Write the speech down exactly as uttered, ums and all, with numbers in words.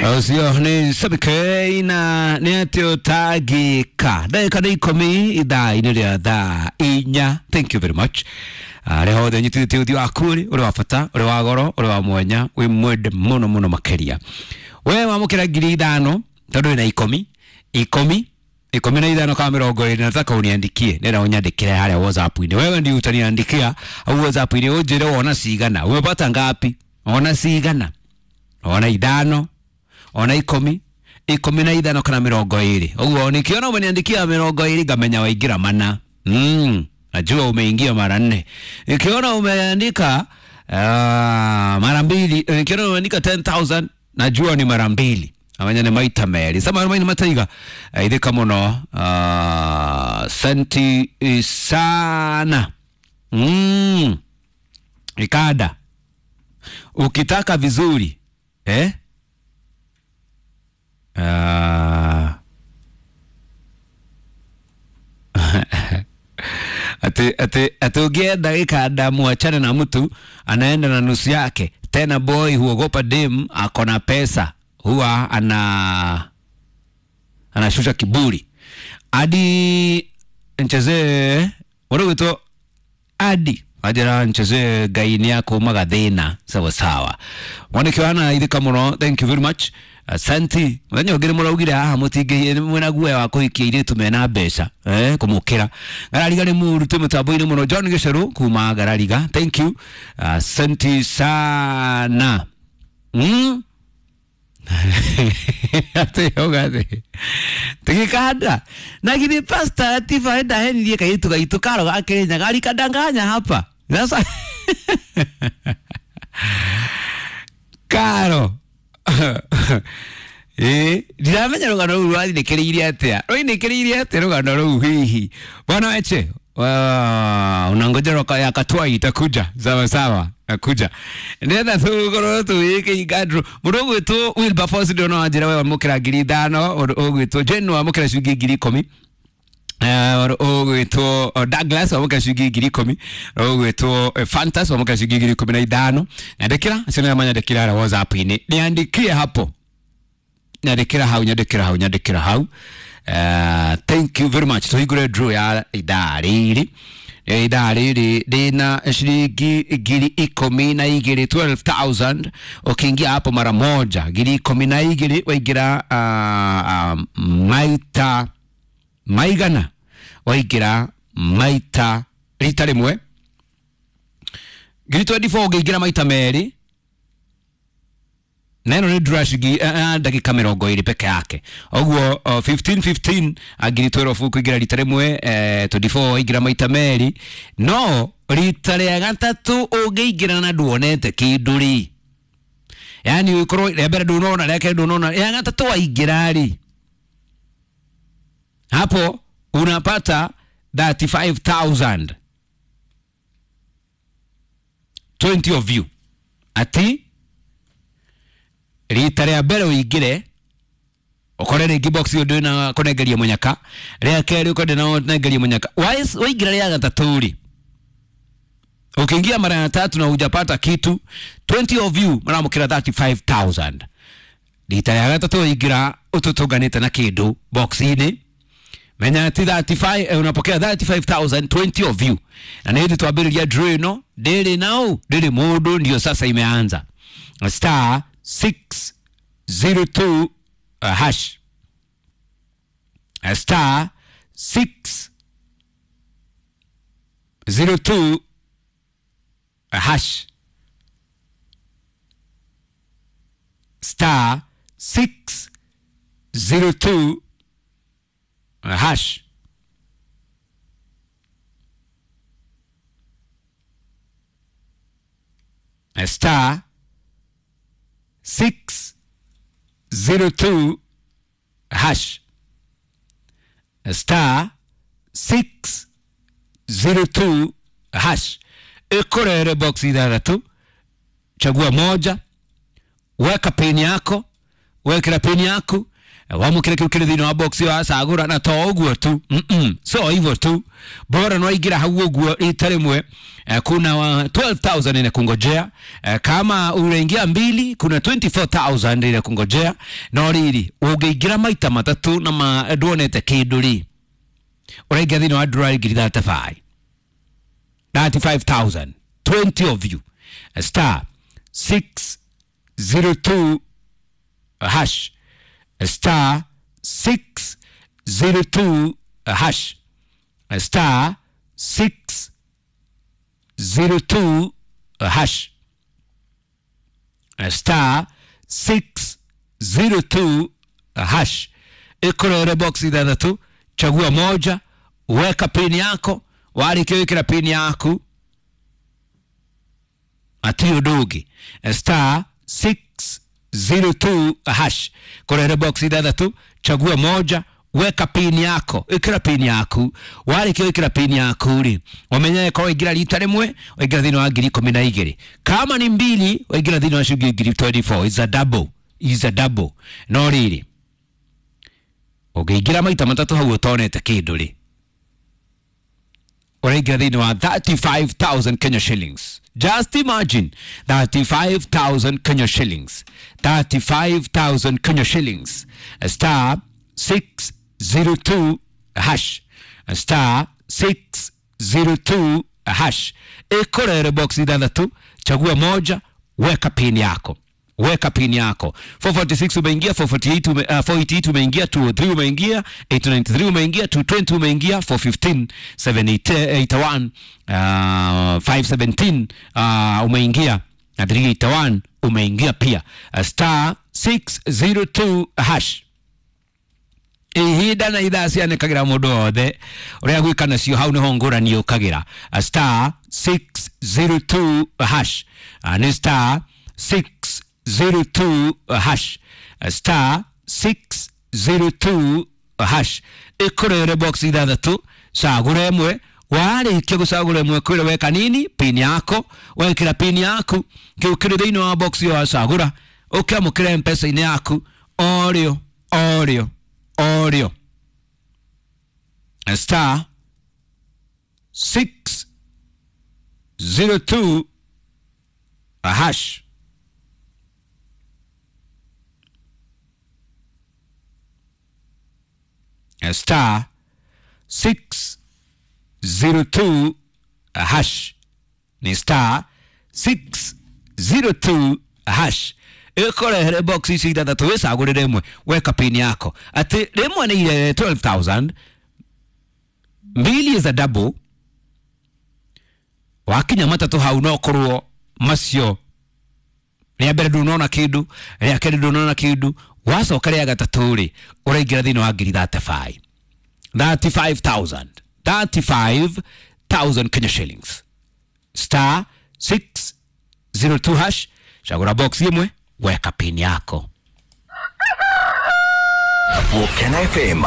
Ũcio nĩ Sabike na nĩ atĩ ũtangĩka ndagĩka nĩ ikũmi ithaa-inĩ rĩa thaa inya. Thank you very much. Arĩa othe nyitithĩtie ũthiũ waku rĩ, ũrĩ wa bata, ũrĩ wa goro, ũrĩ wa mwanya, wĩ mwende mũno mũno makĩria. We wamũkĩra ngiri ithano tondũ wĩna ikũmi ikũmi ikũmi na ithano kama mĩrongo ĩrĩ, nataka uniandikie, nenda unyandĩkĩre harĩa WhatsApp-inĩ. Wewe ndio utaniandikia au WhatsApp-inĩ ũnjĩre wona cigana, umepata ngapi, ona cigana, ona ithano, ona ikũmi, ikũmi na ithano kana mĩrongo ĩrĩ. Ũguo nikiona umeniandikia mĩrongo ĩrĩ ngamenya waingĩra mana. Mm, najua umeingia mara nne. Nikiona umeandika uh, mara mbili, nikiona umeandika ten thousand najua ni mara mbili. Amenya nĩ maita merĩ. Sama maina mataiga ithika mũno, uh, senti sana. Mm. Ikada ukitaka vizuri eh? Uh, ati ati ati ukienda gikanda muachane na mtu anaenda na nusu yake. Tena boy huogopa dem akona pesa, huwa ana anashusha kiburi. Adi nchezee urugito adi ajira nchezee gaini yako magathina sawa sawa. Mwanake ithika muno, thank you very much. Asante. Muthenya ũngĩ nĩ mũraugire haha mũtingĩ mwĩna guoya wa kũhikia airĩtu mena mbeca eh kũmũkĩra. Ngarariga nĩ mũru twĩ mũtambo-inĩ mũno. John Gĩcerũ kuma Ngarariga, thank you. Asante sana. Mm? Ati yogathi tigikanda na githĩ pastor Latifa enda henirie kairĩtu gaitũ karo ga Kenya garikadanganya hapa sasa. Karo eh ndiramenya rũgano rũu rwathinĩkĩrĩirie atĩa, rwainĩkĩrĩirie atĩa rũgano rũu hihi. Bwana Eche, unangoja roka ya Katwai itakuja. Sawa sawa, nakuja ndetha tũgũkorwo tũgĩkĩinga mũndũ ũgwĩtwo Wilberforce ndĩrona wanjĩra we wamũkĩra ngiri ithano, ũndũ ũgwĩtwo Jane wamũkĩra ciringi ngiri ikũmi, ũgwĩtwo Douglas wamũkĩra ciringi ngiri ikũmi, ũgwĩtwo Fantas wamũkĩra ciringi ngiri ikũmi na ithano. Nyandĩkĩra acio nĩo manyandĩkĩra harĩa WhatsApp-inĩ, niandikie hapo, nyandĩkĩra hau, nyandĩkĩra hau, nyandĩkĩra hau. Uh, thank you very much. Tuhingũre draw ya ithaa rĩrĩ ithaa rĩrĩ rĩna ciringi ngiri ikũmi na igĩrĩ, twelve thousand. Ukiingia hapo mara moja ngiri ikũmi na igĩrĩ waingĩra uh, uh, maita maigana, waingĩra maita rita rĩmwe ngiri twenty four, ũngĩingĩra maita merĩ na ĩno nĩ draw ciringi ndagĩka mĩrongo ĩrĩ peke yake. Ũguo fifteen fifteen ngiri twelve ũkũingĩra rita rĩmwe, twenty four waingĩra maita merĩ. No rita rĩa gatatũ ũngĩingĩra na nduonete kĩndũ rĩ, yaani ũkorwo rĩa mbere ndũnona, rĩa kerĩ ndũnona, rĩa gatatũ waingĩra rĩ, hapo unapata thirty five thousand. twenty of you ati rita rĩa mbere ũingĩre ũkore rĩngĩ box ĩyo ndwĩna kũnengeria mũnyaka, rĩa kerĩ ũkore ndwĩna kũnengeria mũnyaka, waingĩra rĩa gatatũ rĩ, ukiingia mara ya tatu na hujapata kitu, twenty of you maramũkĩra thirty five thousand. Rita rĩa gatatũ waingĩra ũtũtũnganĩte na kĩndũ box-inĩ, menya ati thirty five, eh, unapokea thirty five thousand, twenty of you. Na nĩ hĩndĩ twambĩrĩria draw ĩno, ndĩrĩ nau ndĩrĩ mũndũ, ndio sasa imeanza. Star six zero two uh, hash, star six zero two uh, hash, star six zero two uh, hash. Star six zero two hash, star six zero two hash. Ikorere box ithathatũ, chagua moja, weka pin yako, wekera pin yaku, Wamũkĩre kĩu kĩrĩ thĩinĩ wa box ĩyo wacagũra, na to ũguo tu, mm -mm. So hivyo tu, bora nwaingĩra hau ũguo rita rĩmwe. Kuna twelve thousand inakungojea. Kama unaingia mbili kuna twenty-four thousand inakungojea. No rĩrĩ, ũngĩingĩra maita matatũ na ma nduonete kĩndũ rĩ, ũraingĩra thĩinĩ wa draw ngiri thirty-five, thirty-five thousand, twenty of you, star six zero two hash, star six zero two hash, star six zero two hash, star six zero two hash. Ikorere box ithathatũ, chagua moja, weka pin yako. Warĩkia wĩkĩra pin yaku, hatirĩ ũndũ ũngĩ. Star six zero two hash, korere box ithathatũ, chagua moja, weka pin yako, ĩkĩra pin yaku. Warĩkia wĩkĩra pin yaku rĩ, ũmenye korwo waingĩra rita rĩmwe waingĩra thĩinĩ wa ngiri ikũmi na igĩrĩ, kama ni mbili waingĩra thĩinĩ wa ciringi ngiri twenty-four. Is a double, is a double. No rĩrĩ, ũngĩingĩra maita matatũ hau ũtonete kĩndũ rĩ, ũraingĩra thĩinĩ wa thirty-five thousand Kenya shillings. Just imagine, thirty-five thousand Kenya shillings, thirty-five thousand Kenya shillings. Star six zero two hash, star six zero two hash. Ikorere box ithathatũ, chagua moja, weka pin yako, weka pin yako. four forty-six umeingia, four forty-eight ume, uh, four eighty-eight umeingia, two oh three umeingia, eight ninety-three umeingia, two twenty umeingia, four fifteen, seven eighty-one, uh, five seventeen, uh, umeingia, na three eighty-one umeingia pia. Uh, star six zero two hash. Ihinda na ithaa cianĩkagĩra mũndũ wothe ũrĩa gwĩka nacio hau nĩho ngũrani yũkagĩra. Star six zero two hash, nĩ star six zero two hash, star six zero two hash. Ĩkũrere box ithathatũ, cagũra ĩmwe. Warĩkia gũcagũra ĩmwe, kwĩra weka nini pin yako, wekĩra pin yaku kĩu kĩrĩ thĩinĩ wa box ĩyo wacagũra, ũkĩamũkĩra M-Pesa-inĩ yaku orĩo orĩo orĩo. Star six zero two hash. Star six zero two hash, ni star six zero two hash. Ĩkorehere box ici ithathatũ, wĩcagũrĩre ĩmwe, weka pin yako. Atĩ rĩmwe nĩ ile twelve thousand, mbili is a double. Wakinya matatũ hau no korwo macio rĩa mbere ndũnona kĩndũ, rĩa kerĩ ndũnona kĩndũ, wacoka rĩa gatatũ rĩ, ũraingĩra thĩinĩ wa ngiri thirty-five, thirty-five thousand, thirty-five thousand Kenya shillings. Star six zero two hash, chagura box ĩmwe, weka pin yako. Volcano F M.